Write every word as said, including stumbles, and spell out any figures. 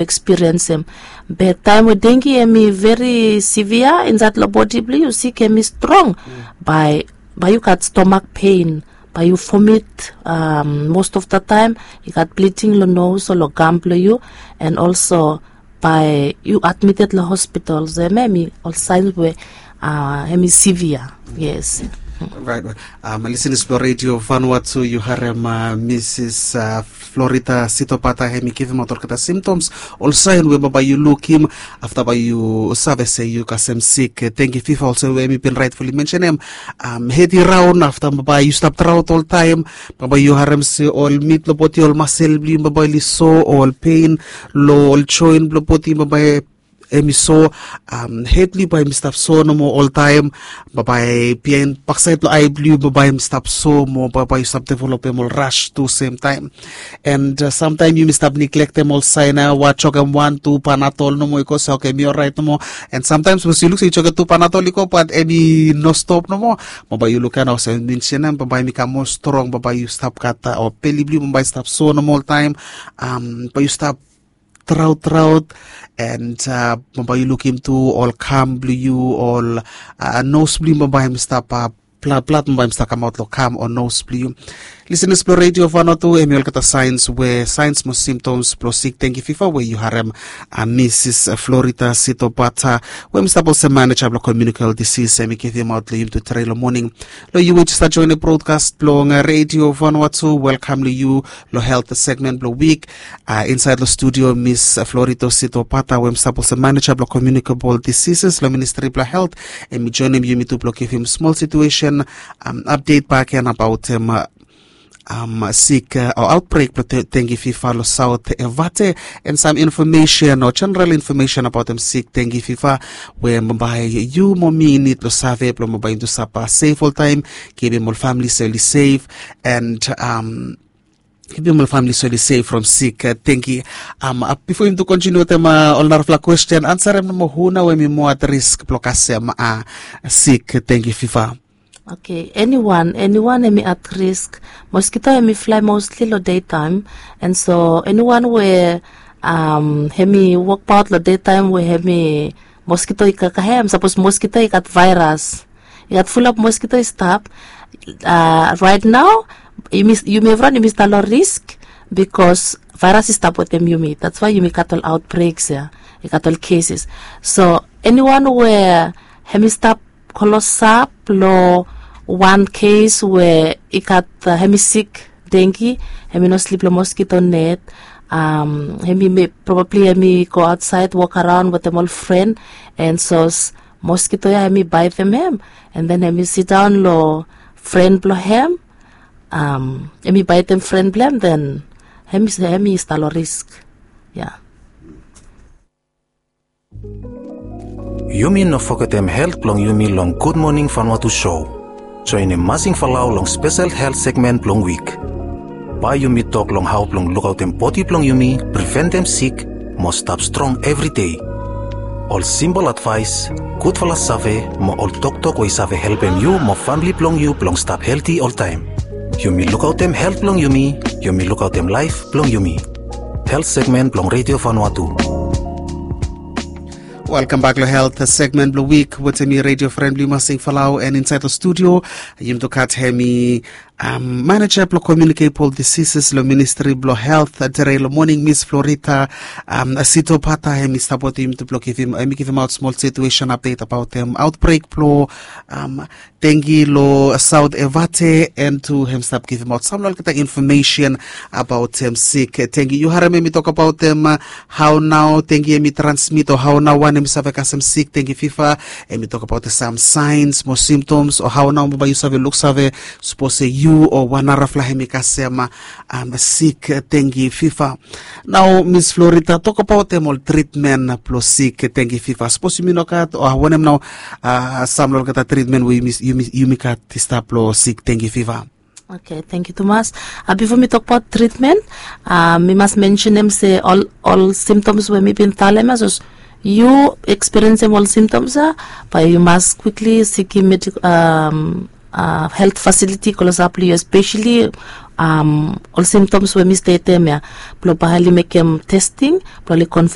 ekspiriensim. Be taem we dengi em i veri sivia insaed long bodi blong yu, sik em i strong, bae bae yu gat stomak pen, bae yu fomit, most of the taem i gat bliding long nos o long gam blong yu, and olso bae yu admited long hospital. So em em i ol saens we em i sivia. Yes. Right. Lisenas blong redio vanua tu, yu harem misis florida sitopata em i givimaot olgeta simtoms, ol saen we bambae yu lukim afta bae yu save se yu kasem sik tengi fifa, olsem we em i bin raetfuli mensenem. Hed i raon afta bambae yu stap traot oltaem, bambae yu harem se ol mit long bodi, ol masel blong yu bambae oli so, ol pen long ol joen blong bodi bambae em i so, hed blong yu bae em i stap so nomo oltaem, bambae biaen baksaed long ae blong yu bambae em i stap so mo bambae yu stap developem ol ras tu semtaem. And samtaem yumi stap niglektem ol saen ya, wa jokem wan tu panadol nomo i go se oke em i oraet nomo. And samtaem sapos yu luk se yu jokem tu panadol i go bat em i no stop nomo, bambae yu luk ya nao olsem mensenem bambae em i kam moa strong, bambae yu stap gat o beli blong yu bambae i stap so nomo oltaem, bae yu stap traot traot, and bambae yu lukim tu ol kam blong yu, ol nos blong yu bambae em i stap, blad blad bambae em i stap kamaot long kam o nos blong yu. Lisenas blong redio vanua tu, em i olgeta saens we saens mo simtoms blong sik tengi fifa we yu harem misis florida sitopata we em i stap olsem maneja blong komiunikabol disis em i givimaot long yumi tu trei long moning. Long yu we yu stap joenem brodkas blong redio vanua tu, welkam long yu long helt segmen blong wik. Insaed long studio mis florida sitopata we em i stap olsem maneja blong komiunikabol disises long ministri blong helt, em i joenem yumi tu blong givim smol situesen apdet bakegen abaotem sik o aotbrek blong tengi fifa long saot evate, and sam infomesen o jeneral infomesen abaotem sik tengi fifa we bambae yu mo mi i nid long save blong bambae yumi tu stap sef oltaem, givim ol famili se oli sef, and givim ol famili se oli sef from sik tengi. Bifo yumi tu kontiniu wetem ol narafala kwesten, ansarem nomo hu nao we em i moa at risk blong kasem sik tengi fifa? Oke, eniwan eniwan em i at risk. Moskito em i flae mosli long deitaem, and so eniwan we em i wokbaot long deitaem we em i moskito i kakahem, sapos moskito i gat vaeras, i gat fulap moskito i stap raet nao, yumi evriwan yumi stap long risk, bikos vaeras i stap wetem yumi, dats wae yumi gat ol aotbreks ya, i gat ol keses. So eniwan we em i stap klosap long wan kes we i gat, em i sik dengi, em i no slip long moskito net, em i probabli em i go aotsaed wokaraon wetem ol fren, and sos moskito ya em i baetem hem, and then em i sidaon long fren blong hem, em i baetem fren blong hem, then em i stap long risk. Ya. Yumi no fogetem helt blong yumi long gudmoning fanua tu sou. Joenem masing falau long spesel helt segmen blong wik. Bae yumi tok long hao blong lukaotem bodi blong yumi, priventem sik, mo stap strong evri dei. Ol simpol advaes, gudfala save mo ol toktok we i save helpem yu mo famili blong yu blong stap helti oltaem. Yumi lukaotem helt blong yumi, yumi lukaotem laef blong yumi. Helt segmen blong redio fanua tu. Welkambak long helt segmen blong wik wetem mi, redio fren blong yu masing falau, and insaed long studio yumi tu gat hem i maneja blong komiunikebol disises long ministri blong helt. Tere long moning mis florida sitopata, hem i stap wetem yumi tu blong givim, hem i givimaot smol situesen apdet abaotem aotbrek blong dengi long saot evate, and tu hem stap givimaot sam long olgeta infomesen abaotem sik dengi. Yu harem hem i tokbaot hem hao nao dengi hem i transmit o hao nao wan hem i save kasem sik dengi fifa. Hem i tokbaot sam saens mo simtoms o hao nao bae yu save luksave sapos se yu o wan narafala hem i kasem sik dengi fifa. Nao mis florida, tokbaot hem ol tritmen blong sik dengi fifa, sapos yumi no gat o wanem nao sam long olgeta tritmen we yumi gat i stap long sik dengi fifa? Oke, tengiu tumas. Bifo mi tokbaot tritmen, mi mas mensenem se ol simtoms we mi bin talem ya, sapos yu ekspiriensem ol simtoms ya, bae yu mas kwikli sikim helt fasiliti klosap long yu, espeseli ol simtoms we mi stetem ya, blong bae oli mekem testing blong oli konfam